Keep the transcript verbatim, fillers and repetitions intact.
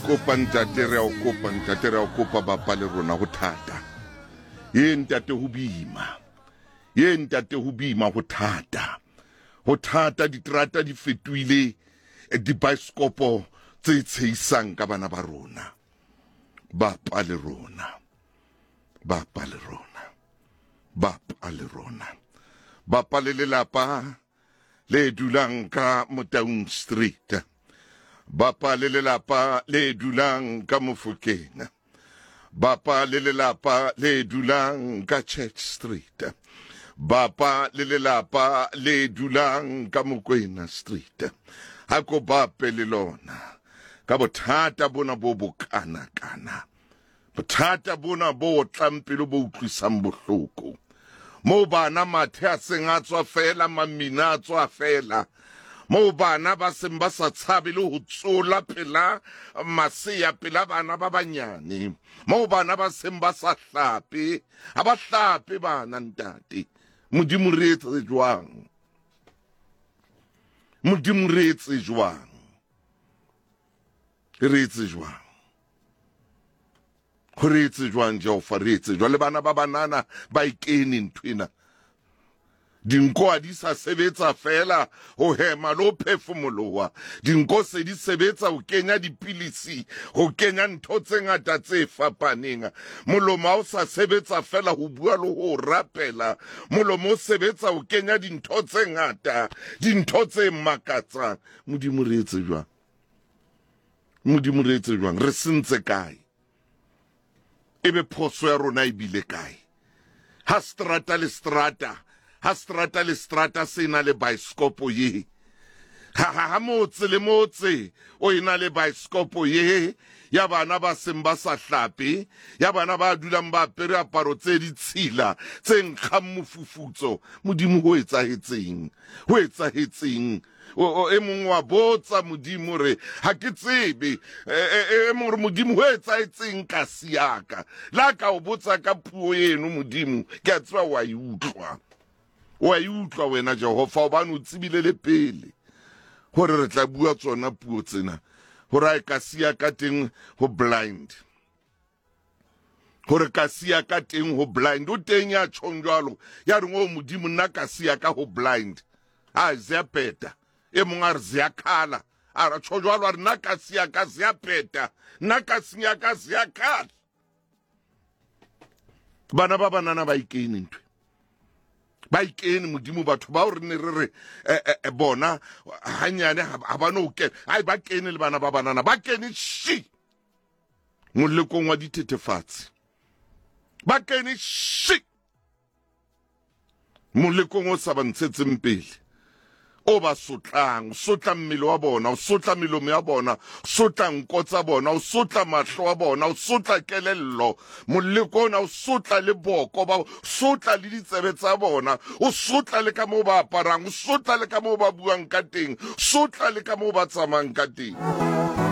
Kopa ntate, re a o kopa ntate, re a o kopa bapa le rona, ho thata. Ye ntate, ho boima. Ye ntate, ho boima, ho thata. Ho thata, diterata di fetohile dibaesekopo tse tshehisang ka bana ba rona. Bapa le rona. Bapa le rona. Bapa le rona. Bapa le lelapa le dulang ka Motaung Street. Bapa le lelapa le dulang ka Mofokeng. Bapa le lelapa le dulang ka Church Street. Bapa le lelapa le dulang ka Mokwena Street. Ha ko bape le lona ka bothata bona bo bokana-kana. Bothata bona bo otlang pelo, bo utlwisang bohloko. Moo bana mathe a seng a tswa fela, mamina a tswa fela. Moo bana ba seng ba sa tshabe le ho tsola pela masea, pela bana ba banyane. Moo bana ba seng ba sa hlape, ha ba hlape bana ntate. Modimo re etse jwang? Modimo re etse jwang? Re etse jwang? Ho re etse jwang, Jehova, re etse jwang? Le bana ba banana ba e kene nthwena. Dinko ha di sa sebetsa fela ho hema le ho phefumoloha. Dinko se di sebetsa ho kenya dipilisi, ho kenya ntho tse ngata tse fapaneng. Molomo ha o sa sebetsa fela ho bua le ho rapela. Molomo o sebetsa ho kenya dintho tse ngata, dintho tse makatsang. Modimo re etse jwang? Modimo re etse jwang? Re sentse kae? Ebe phoso ya rona e bile kae? Ha strata le strata, ha strata le strata se na le baesekopo ye. Ha ha ha motse le motse o ena le baesekopo ye ya bana ba seng ba sa hlape, ya bana ba dulang ba apere aparo tse ditshila tse nkgang mofufutso. Modimo, ho etsahetseng? Ho etsahetseng? O, o, e mong wa botsa Modimo re ha ke tsebe. E, e, e mong re Modimo ho etsahetseng ka siaka la ka o botsa ka puo eno. Modimo, ke a tseba wa e utlwa, wa e utlwa wena Jehova, hobane o tsebile le pele hore re tla bua tsona puo tsena, hore a e ka siya ka teng ho blind, hore ka siya ka teng ho blind. O teng ya tjhong jwalo, ya reng o Modimo nna ka siya ka ho blind, a ziyapeta. E mong a re ziyakhala, a re tjho jwalo, a re nna ka siya ka ziyapeta, nna ka siya ka ziyakhala. Bana ba banana ba ikene ntwe, ba ikene. Modimo, batho bao re ne re re eh, eh, bona hanyane ha ba no kena, ai ba kene le bana ba banana ba kene shi molekong wa dithethefatsi, ba kene shi molekong o sa ba ntshetseng pele, o ba sotlang, o sotla mmele wa bona, o sotla melomo ya bona, o sotla nko tsa bona, o sotla mahlo a bona, o sotla kelello. Moleko ona o sotla le boko ba, sotla le ditsebe tsa bona, o sotla le ka moo ba aparang, o sotla le ka moo ba buang ka teng, sotla le ka moo ba tsamayang ka teng.